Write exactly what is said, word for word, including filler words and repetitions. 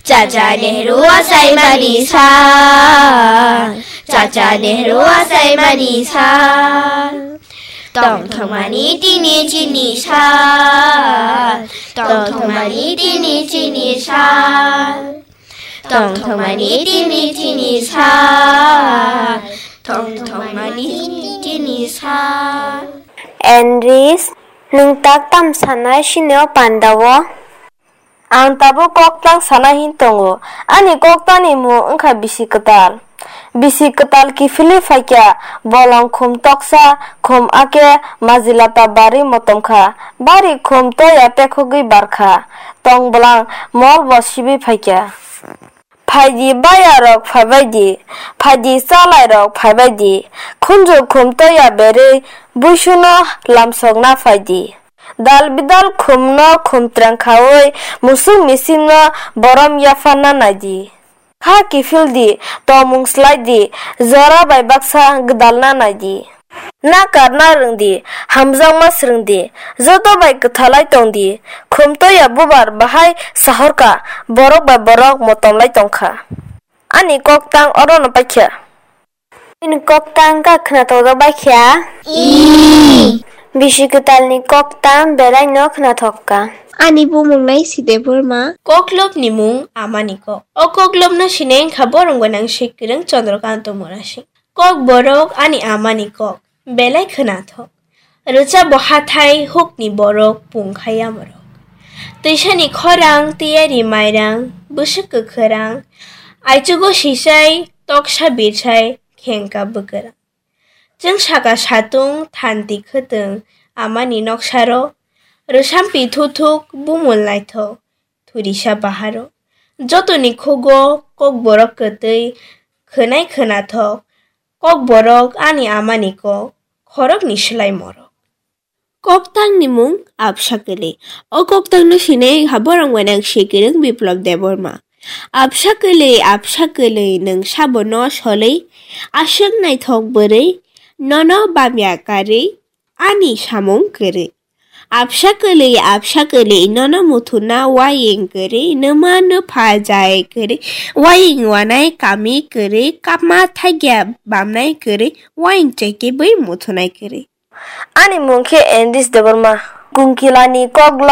Chacha Nehru achaimani sal, Chacha Nehru achaimani sal. Tongthok mani tini chini sal, tongthok mani tini chini sal. Tongthok mani tini chini sal, tongthok mani tini chini sal. Enris, nwng tak tam sanai sini o panda o? Ang tabuk koktang sana hin tongo. Ani koktangni mung wngkha bisi kwtal. Bisi kwtal kiphilwi phaikha, bolong khum toksa, khum ake majilata bari motom kha. Bari khum toya pekhogwi barkha. Tong bwlang mol bo sibwi phaikha. Phaidi bayarok phaibaidi, phaidi chalairok phaibaidi, khunju khum toya berwi buisuno lamsokna phaidi. Dal bidal khumno khum trang khaui musuk misikno borom yapharna naidi. Kha kiphildi, tongmung swlaidi, jora bai baksa gwdalna naidi. Na karna rwngdi, hamjakma swrwngdi, joto bai kwthalai tongdi. Khum toya bubar bahai sahorkha, borok bai borok motomlai tongkha. Ani koktang orono paikha. Bini koktang kha khwnathok baikha. Bisi kwtalni koktang belaino khwnathok kha. Ani bumung nai si Debbarma. Koklopni mung amani kok. O koklopno sinai wngkha borok gwnang si kwrwng Chandrakanta Murasing. Kokborok ani amani kok, belai khwnathok. Rwchap bo hathai hukni borok pung khai yamorok. Twisani khorang, tiyari mairang, bwswk kwkhwrang, aichugo sichai, toksa birchai, khengka bwkwrang. Chwng saka satung, thanti khwtwng, amani noksaro, rwsampi thuthuk, bumul naithok, thurisa baharo. Jotoni khugo kokborok kwtwi, khwnai khwnathok, kokborok ani amani kok, khorokni swlai morok. Koktangni mung Absa Kwlwi. O koktangno sinai wngkha borok gwnang si kwrwng Biplop Debbarma. Absa kwlwi, absa kwlwi, nwng sabono solwi, aswk naithok bwrwi, nono bamya karwi, ani samung kwrwi. Absa kwlwi, absa kwlwi, nono muthuna waying kwrwi, nwma nwpha jai kwrwi, waying wanai kami kwrwi, kapma thagya bamnai kwrwi, waying chekibwi muthunai kwrwi. Ani mung khe Enris Debbarma. Kunkilani koklo